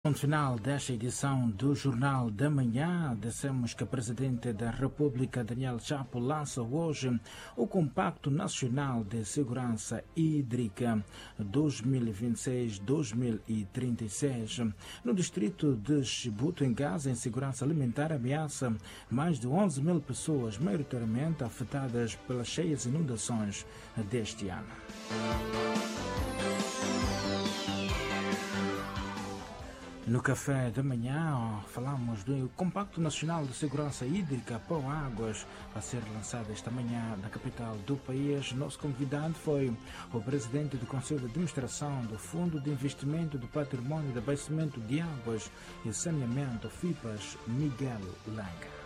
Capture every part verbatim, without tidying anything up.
Final desta edição do Jornal da Manhã, dissemos que o Presidente da República, Daniel Chapo, lança hoje o Compacto Nacional de Segurança Hídrica dois mil e vinte e seis, dois mil e trinta e seis. No distrito de Chibuto, em Gaza, a insegurança alimentar ameaça mais de onze mil pessoas, maioritariamente afetadas pelas cheias e inundações deste ano. No Café da Manhã, falamos do Compacto Nacional de Segurança Hídrica, Pró-Águas, a ser lançado esta manhã na capital do país. Nosso convidado foi o presidente do Conselho de Administração do Fundo de Investimento do Património de Abastecimento de Águas e Saneamento, FIPAS, Miguel Langa.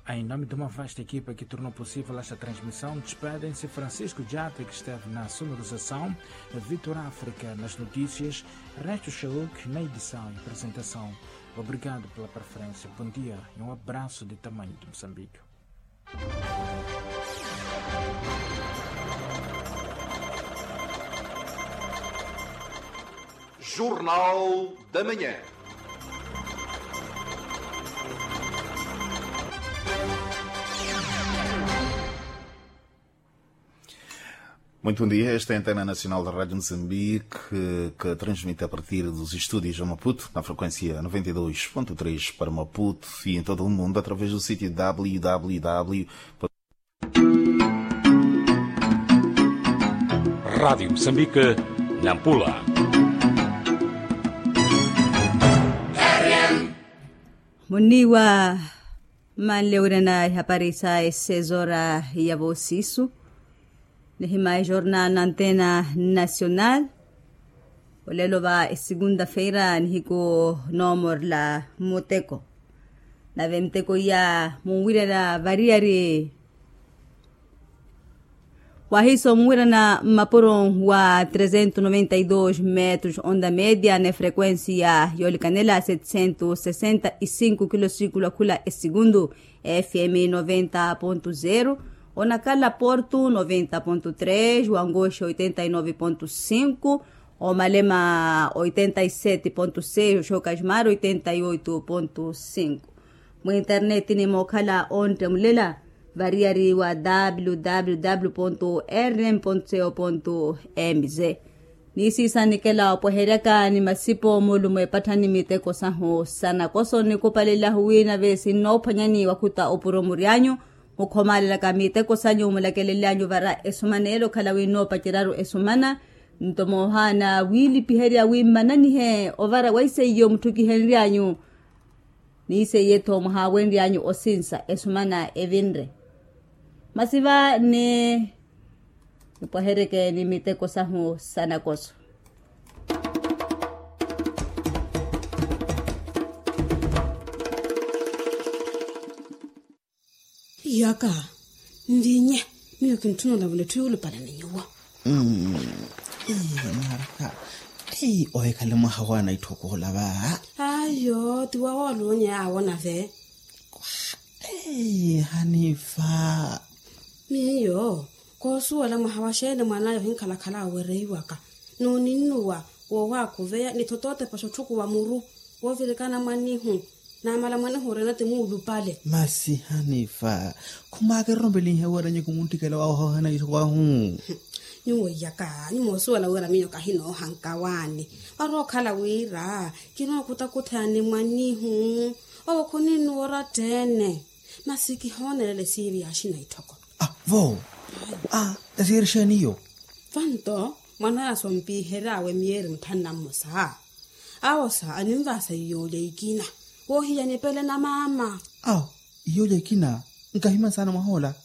Em nome de uma vasta equipa que tornou possível esta transmissão, despedem-se Francisco Diata, que esteve na sonorização, Vitor África nas notícias, Resto Shauk na edição e apresentação. Obrigado pela preferência, bom dia e um abraço de tamanho de Moçambique. Jornal da Manhã. Muito bom dia. Esta é a Antena Nacional da Rádio Moçambique, que transmite a partir dos estúdios de Maputo, na frequência noventa e dois ponto três para Maputo e em todo o mundo, através do sítio www. Rádio Moçambique, Nampula. Muniwa manle wirana ihapari sa esezora ya vosisu. Nihima ejornal na Antena Nacional. Olelo va esegunda-feira nihiku nomorla muteko. Nave muteko iya munwirana variyari wahiso munwirana mmapuro wa trezentos noventa e dois metros onda média ne frequência yolikanela setecentos sessenta e cinco kilosículo akhula esegundu. F M noventa ponto zero, onakala Porto noventa ponto três, Wangoxe oitenta e nove ponto cinco, Omalema oitenta e sete ponto seis, Oxokajmar oitenta e oito ponto cinco. Mu internet ni mookhala onttemulela variyari wa www ponto rn ponto co ponto mz. Niisiisa nikela opweheryaka ni masipo mulumo epatthani miteko sahu sa nakoso nikupalelahu wi nave sinnoophwanyani wakhuta opuro mury'anyu. Mukhomaalelaka miteko sanyu mulakelelyanyu vara esumana ele okhala wi nnoopaceryaru esumana. Nto moohaana wiilipiherya wi mmananihe ovara wa iseiyo mutthukihenry'anyu. Ni iseiye-tho muhaawenry'anyu osinsa esumana evinre. Masi va ni nipwaheryeke ni miteko sahu sa nakoso. Iyaka nvinye, miyo kintthuna olavula etthu yuulupale ni nyuwo. Naraka. Ohikhale mwaha wa naitthoko olava. Ayo tiwa woolunya awo nave. Hanifa. Miyo koosuwela mwaha wa xeeni mwan'aya ohinkhalakhala awereiwaka n'uninnuwa woowaakuveya ni thotootepa xotthukuwa muru woovirikana mwan'ihu. Naamala mwanehu orina ti muulupale. Masi hanifa. Khumaakererompelinhe weeranyi kumunttikela waahoohana itthu wahu. Nyuwo iyaka nyumoosuwela wira miyo kahinoohanka waani. Orookhala wira kinookutakutthani mwan'ihu. Owo khuninnuwa orattheene. Masi kihoonelela esiiri yaaxina itthoko. Vo esiiri xeeni iyo? Vanto mwan'aya sompiihery'awe miyeeri mutthanu na mmosa. Awo sa aninvaha sa iyoolya ikina woohiya nipele na maama. Awo iyoolya ikina? Nkahimani saana mwahoola.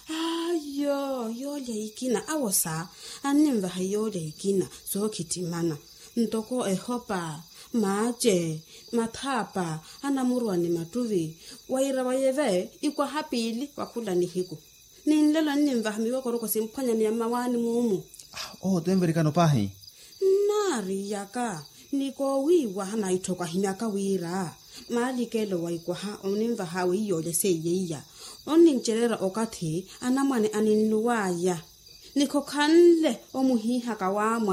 Ayo iyoolya ikina awo sa anninvaha iyoolya ikina sookhittimana ntoko ehopa, maace, mathaapa, anamuruwa ni mattuvi. Wira wayeve ikwaha piili wa khula nihiku. Ni nlelo anninvaha miwokoroko simphwanyani ya mmawaani muumu. Owo tenverikano paahi. Nnaari iyaka ni koowiiwaha naitthoko ahimyaka wira maalikelo wa ikwaha oninvaha weiyoolya seiye iya onnincereera okathi anamwane aninnuw'aya. Nikhokhanle omuhiihaka waamwa.